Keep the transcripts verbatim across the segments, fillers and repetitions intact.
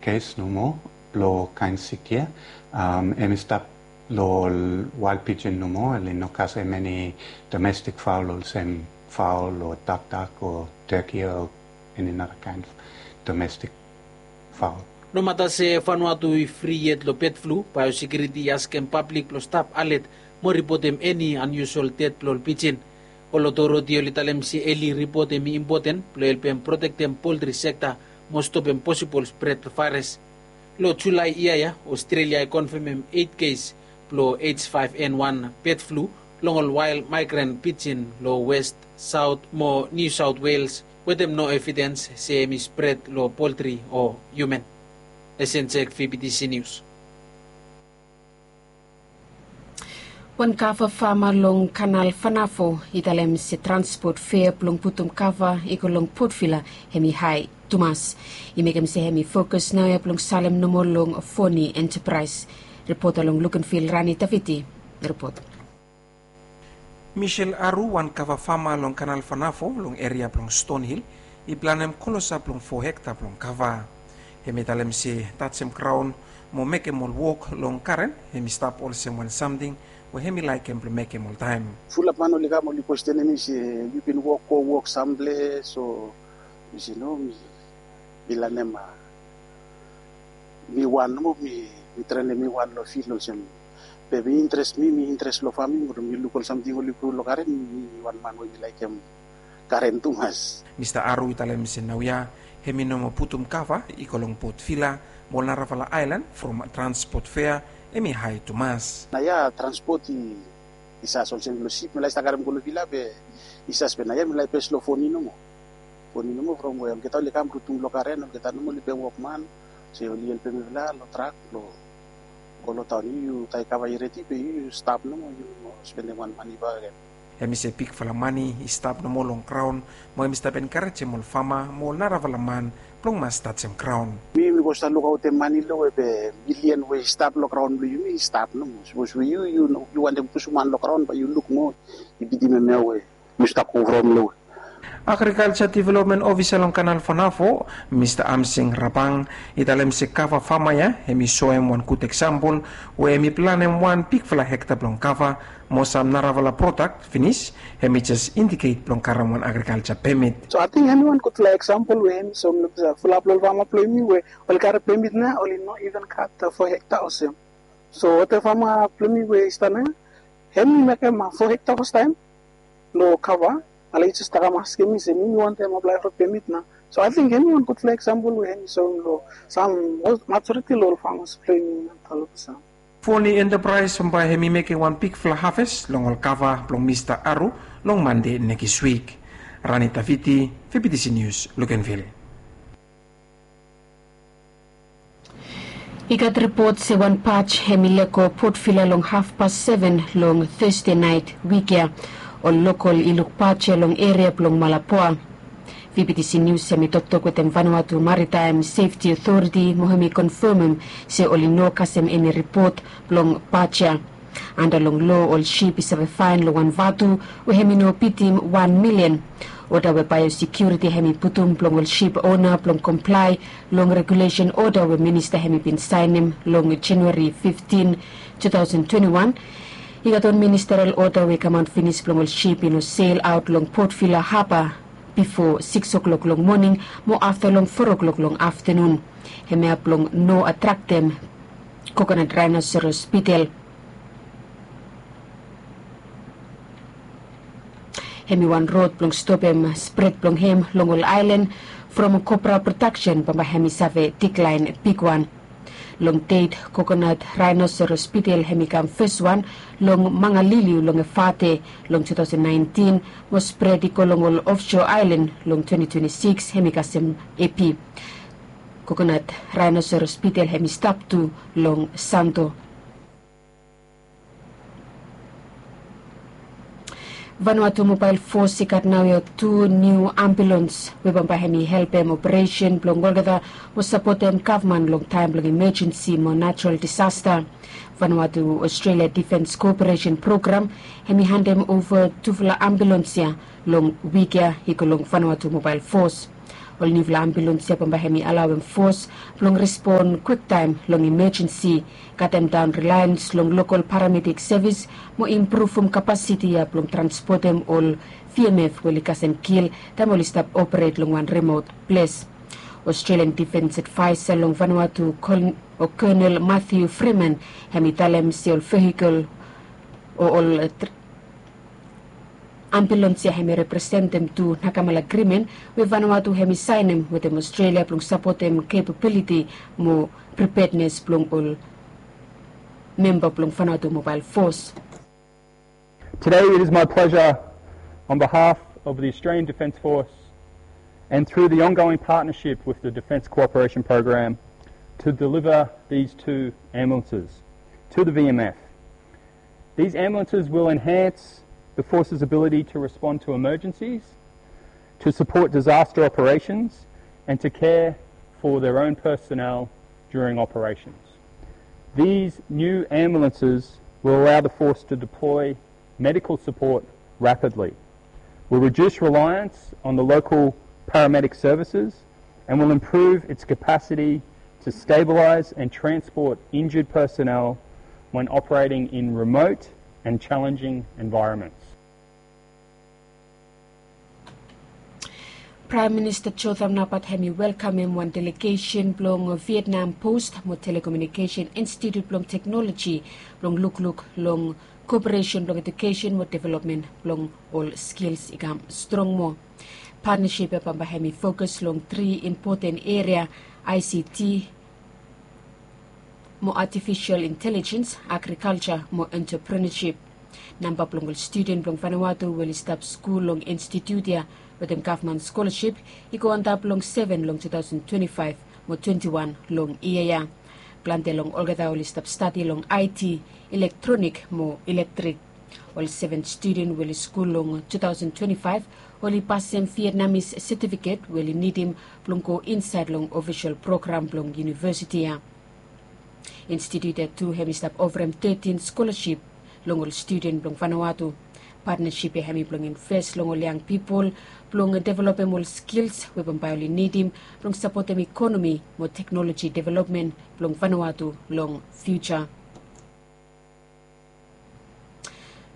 Kes nomo lo kaen sik ya. Em i stap lo ol wael pijin nomo, oli no kasem eni domestik faol olsem faol o dakdak o teki o eni nara kaen domestik faol. Nomata se Vanuatu i fri yet lo pet flu, baeosekiuriti i askem pablik blo stap alet mo ripotem eni anyusual ded blo ol pijin. Ol otoriti oli talem se eli ripot hem i impoten blo helpem protektem poltri sekta mo stopem posibol spred blo vaeras. Lo Julae yia ya, Ostrelia i konfemem eit kes blo H five N one bed flu long ol wael maegran pijin lo West, Saot mo Niu Saot Wales wetem no evidens se hem i spred lo poltri o hiuman. Esen Jek, V B T C Nius. Wan kava fama long Kanal Vanavo i talem se transpot fea blong putum kava i go long Port Vila hem i hae tumas. I mekem se hem i fokus naoia blong salem nomo long Foni Enterprise. Ripota long Lukenvil, Rani Taviti ripot. Michel Aru, wan kava fama long Kanal Vanavo long eria blong Stonhill, i planem klosap long fo hekta blong kava. Hem i talem se tajem graon mo mekem ol wok long garen hem i stap olsem wan samting we hem i laekem blong mekem oltaem. Fulap man oli kam oli kwestenem mi se, yu bin wok go wok samples o? Mi se no, mi, mi lanem, a, mi wan nomo, mi, mi trenem mi wan lo fil olsem. Be mi interes, mi, mi interes lo faming, mi luk ol samting oli gro lo garen, mi wan man we mi laekem garen tumas. Mista Aru i talem se naoia hem i no moa putum kava i go long Port Vila mo ol narafala aelan from transpot fea hem i hae tumas. Naoia transpot i, i sas olsem lo sip mi lae stap karem go lo Vila be i sas, be naoia mi lae pes lo Foni nomo. Foni nomo from we olgeta oli kam rutum lo garen, olgeta nomo oli pem wokman. Se oli helpem mifala lo trak lo go lo taon. Yu, yu taem kava i redi be yu, yu stap nomo, yu no spendem wan mane bakegen. Hem i se bigfala mane i stap nomo long graon mo hem i stap enkarejem ol fama mo ol narafala man blong mas tajem graon. Mi, mi go stap lukaotem mane lo we be milian we i stap lo graon blo yumi i stap nomo. Sapos we yu, yu no, yu wantem pusum han lo graon bae yu luk mo i bitim hemia we yu stap go from lo we. Agrikalja Developmen Ofisa long Kanal Vanavo, Mista Amsing Rabang, i talem se kava fama ya hem i soem wan gud eksampol we hem i planem wan bigfala hekta blong kava mo sam narafala prodak finis, hem i jes indiket blong karem wan agrikalja pemit. So ating hem i wan gudfala eksampol we hem i soem long fulap lo ol fama blo yumi we oli karem pemit nao oli no iven gat fo hekta olsem. So olgeta fama blo yumi we i stap nao hem i mekem fo hekta fastaem lo kava. Ala i jes kam askem mi se mi, mi wantem aplae fo pemit nao. So ating hem i wan gudfala eksampol we hem i soem lo sam majoriti lo ol famas blo yumi nao. Foni Enterprise bambae hem i mekem wan bigfala haves long ol kava blong Mista Aru long Mande nekis wik. Rani Taviti, V B T C Nius, Lukenvil. I gat ripot se wan baj hem i lego Port Vila long hafpas seven long Thursday naet wik ya. Ol lokol i luk baj ya long eria blong Malapua. V B T C Nius hem i toktok wetem Vanuatu Maritime Safety Authority mo hem i konfemem se oli no kasem eni ripot blong baj ya. Anda long loa ol sip i save faen long wan vatu we hem i no bitim wan milian. Oda we baeosekiuriti hem i putum blong ol sip ona blong komplae long regulesen oda we minista hem i bin saenem long Januari fiftin, two thousand twenty-one. I gat wan ministeral oda we i kamaot finis blong ol sip i no sel aot long Port Vila haba bifo sikis oklok long moning mo afta long foa oklok long aftanun. Hemia blong no atraktem kokonat raenoseros bitel. Hem i wan rod blong stopem spred blong hem long ol aelan from kopra prodaksen bambae hem i save diklaen bigwan. Long det kokonat raenoseros bitel hem i kam feswan long Mangaliliu long Efate long two thousand nineteen mo spred i go long ol ofso aelan long twenty twenty-six hem i kasem epi. Kokonat raenoseros bitel hem i stap tu long Santo. Vanuatu Mobael Fos i gat naoia tu niu ambulans we bambae hem i helpem operesen blong olgeta mo sapotem gavman long taem blong imajensi mo natural disasta. Vanuatu Australia Defens Koperesen Program hem i handem ova tufala ambulans ya long wik ya i go long Vanuatu Mobael Fos. Ol niufala ambulans ya bambae hemi alaoem fos blong respon kwiktaem long imajensi, katemdaon rilaens long lokol paramedik sevis mo impruvum kapasiti ya blong transpotem ol V M F we oli kasem kil taem oli stap operet long wan rimot ples. Australian Defence Advisor long Vanuatu, Colonel, o Colonel Matthew Freeman, hemi talem se ol vehikel o ol, eh, tr-, ambulans ya hemi representem tu Nakamala Agreement we Vanuatu hemi saenem wetem Australia blong sapotem capability mo preparedness blong ol memba blong Vanuatu Mobile Force. Today it is my pleasure, on behalf of the Australian Defence Force and through the ongoing partnership with the Defence Cooperation Program, to deliver these two ambulances to the V M F. These ambulances will enhance the force's ability to respond to emergencies, to support disaster operations, and to care for their own personnel during operations. These new ambulances will allow the force to deploy medical support rapidly, will reduce reliance on the local paramedic services, and will improve its capacity to stabilise and transport injured personnel when operating in remote and challenging environments. Praem Minista Jotham Napat hemi welkamem wan delegesen blong Vietnam Post mo Telekomunikesen Institut blong Teknoloji blong lukluk long koperesen blong edukesen mo developmen blong ol skils i kam strong moa. Patnasip ya bambae hemi fokus long tri impoten eria, I C T, mo artificial intelligence, agriculture mo entrepreneurship. Namba blong ol studen blong Vanuatu we oli stap skul long institut ya wetem gavman skolasip i go antap long seven long two thousand twenty-five mo twenty-one long yia ya. Plante long olgeta oli stap stadi long I T, elektronik mo elektrik. Ol seven studen we oli skul long two thousand twenty-five oli pasem Vietnamese setifiket we oli nidim blong go insaed long ofisol program blong univesiti ya. Institut ya tu hemi stap oferem thirteen skolasip long ol studen blong Vanuatu. Patnasip ya hemi blong inves long ol yang pipol blong developem ol skils we bambae oli nidim blong sapotem ikonomi mo teknoloji developmen blong Vanuatu long fiuja.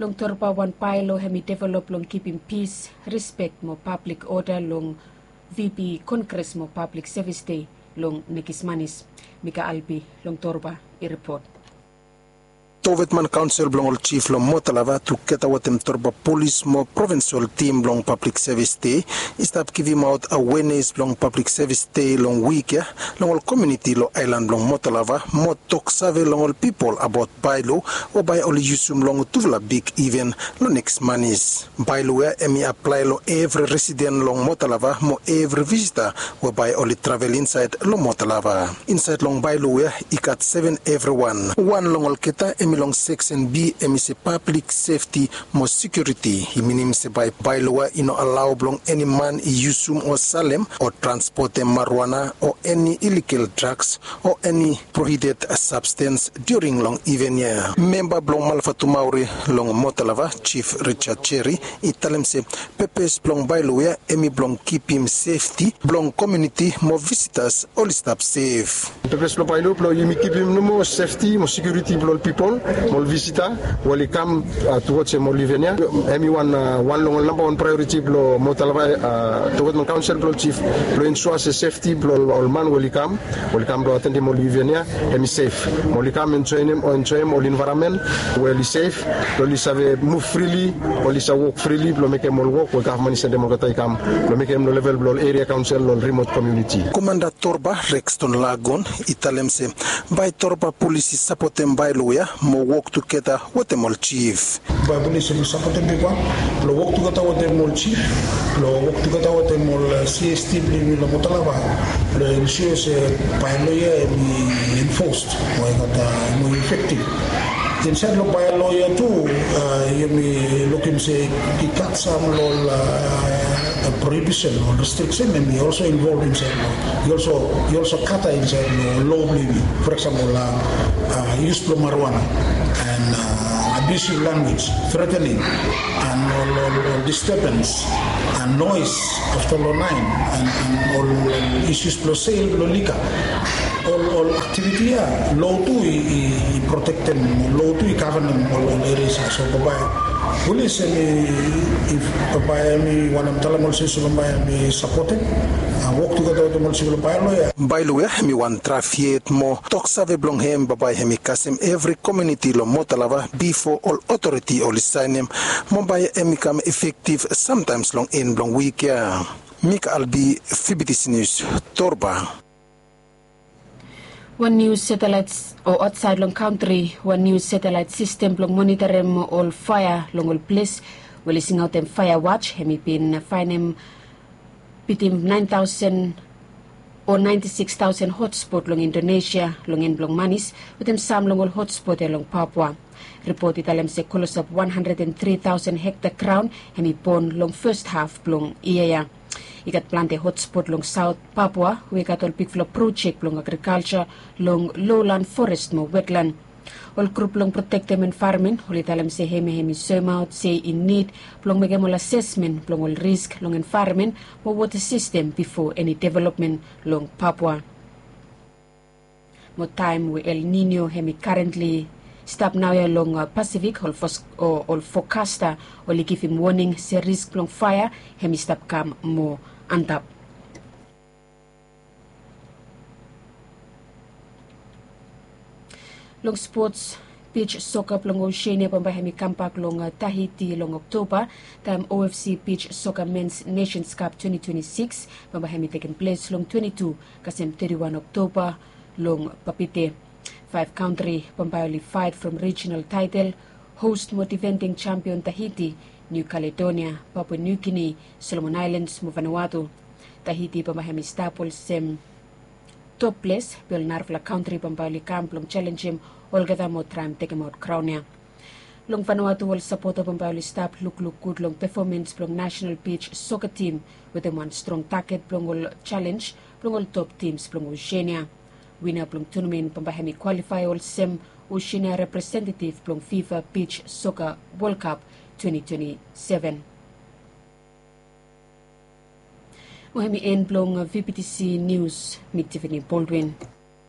Long Torba, wan baelo hemi develop blong kipim pis, rispek mo pablik oda long V P Kongres mo Pablik Sevis Dei long nekis manis. Mika Albi long Torba i ripot. Towetman Kaonsel blong ol Jif long Motalava tugeta wetem Torba Polis mo provinsol tim blong Pablik Sevis Dei i stap givimaot awenes blong Pablik Sevis Dei long wik ya long ol komuniti long aelan blong Motalava mo toksave long ol pipol abaot baelo we bae oli yusum long tufala big iven long nekis manis. Baelo ya hemi aplae long evri residen long Motalava mo evri visita we bae oli travel insaed long Motalava. Insaed long baelo ya i gat seven evriwan. Wan long olgeta hemi long seksen B, hemi se pablik sefti mo sekiuriti. I minim se bae baelo ya i no alao blong eni man i yusum o salem o transpotem marijuana o eni iligal draks o eni prohibited sabstens during long iven ya. Memba blong Malvatumauri long Motalava, Jif Richard Jerry, i talem se pepes blong baelo ya hemi blong kipim sefti blong komuniti mo visitas oli stap sef. Pepes blong baelo blong yumi kipim nomo sefti mo sekiuriti blong ol pipol mo ol visita we oli kam, a, tuwaj hem ol iven ya. Hemi wan, a, wan long ol nambawan praeoriti blong Motalava, a, Towetman Kaonsel blong ol Jif blong ensua se sefti blong ol, ol man we oli kam we oli kam blong atendim ol iven ya hemi sef. Mo oli kam enjoem, enjoem ol envaeronmen we oli sef blong oli save muv frili, oli save wok frili blong mekem ol wok we gavman i sendem olgeta i kam blong mekem long level blong ol eria kaonsel long ol rimot komuniti. Komanda Torba, Rexton Lagon, i talem se bae Torba Polis i sapotem baelo ya mo wok tugeta wetem ol Jif. Bae Polis oli sapotem bigwan blong wok tugeta wetem ol Jif, blong wok tugeta wetem ol, e, C S T blong yumi long Motalava blong ensua se baelo ya hemi enfosed mo i gat, a, mo efektiv. Insaed long baelo ia tu, yumi lukim se i gat sam long ol prohibition o restriksen em i olso involv insaed long, i olso kata insaed long lo blong yumi. For eksempel, yus blong marijuana, and abusive language, threatening, and ol disturbance, and noise afta long naen, and ol isus blong sel blong lika. Ol aktiviti ya lo tu i protektem, lo tu i gavenem ol erias ya. So bambae pulis em i, bambae em i wantem talem olsem se bambae em i sapotem wok tugeta wetem ol sivil baelo ya. Baelo ya em i wan draf yet mo tok save blong hem bambae em i kasem evri komiuniti long motalava bifo ol otoriti oli saenem. Mo bae em i kam efektiv samtaems long en blong wik ya. Mika Albi, Fibitisi Nius, Torba. Wan niu setelaet o aotsaed long kantri, wan niu setelaet sistem blong monitarim ol faea long ol ples we oli singaotem faea waj, hem i bin faenem bitim naen taosen o naenti sikis taosen hotspot long Indonesia long en blong manis wetem sam long ol hotspot ya long Papua. Ripot i talem se klosap wan handred and tri taosen hekta graon hem i bon long fes haf blong yia ya. I gat plante hotspot long saot Papua we i gat ol bigfala projek blong agrikalja long lowlan, forest mo wetlan. Ol grup blong protektem envaeronmen oli talem se hemia hem i soemaot se i nid blong mekem ol asesmen blong ol risk long envaeronmen mo wota sistem bifo eni developmen long Papua. Mo taem we El Nino hem i karentli stap naoia long Pasifik, ol fokasta oli givim woning se risk blong faea hem i stap kam moa antap. Long spots, bij soka blong Oseania bambae hem i kambak long Tahiti long Oktoba, taem OFC bij soka Mens Nations Cup twenti twenti sikis bambae hem i tekem ples long twenti tu kasem teti wan Oktoba long Papeete. Faef kantri bambae oli faet from rijinal taetel, host mo difending jampion Tahiti, Niu Kaledonia, Papua Niu Gini, Solomon Aelans mo Vanuatu. Tahiti bambae hem i stap olsem top ples, be ol narafala kantri bambae oli kam blong jalenjem olgeta mo traem tekemaot kraon ya. Long Vanuatu ol sapota bambae oli stap lukluk gud long pefomans blong nasenal bij soka tim wetem wan strong taget blong ol jalenj blong ol top tims blong Oseania. Wina blong tunamen bambae hem i kwalifae olsem Oseania representetiv blong FIFA bij soka Wol Kap twenti twenti seven. Mo hem i en blong VBTC Nius, mi Tiffany Baldwin.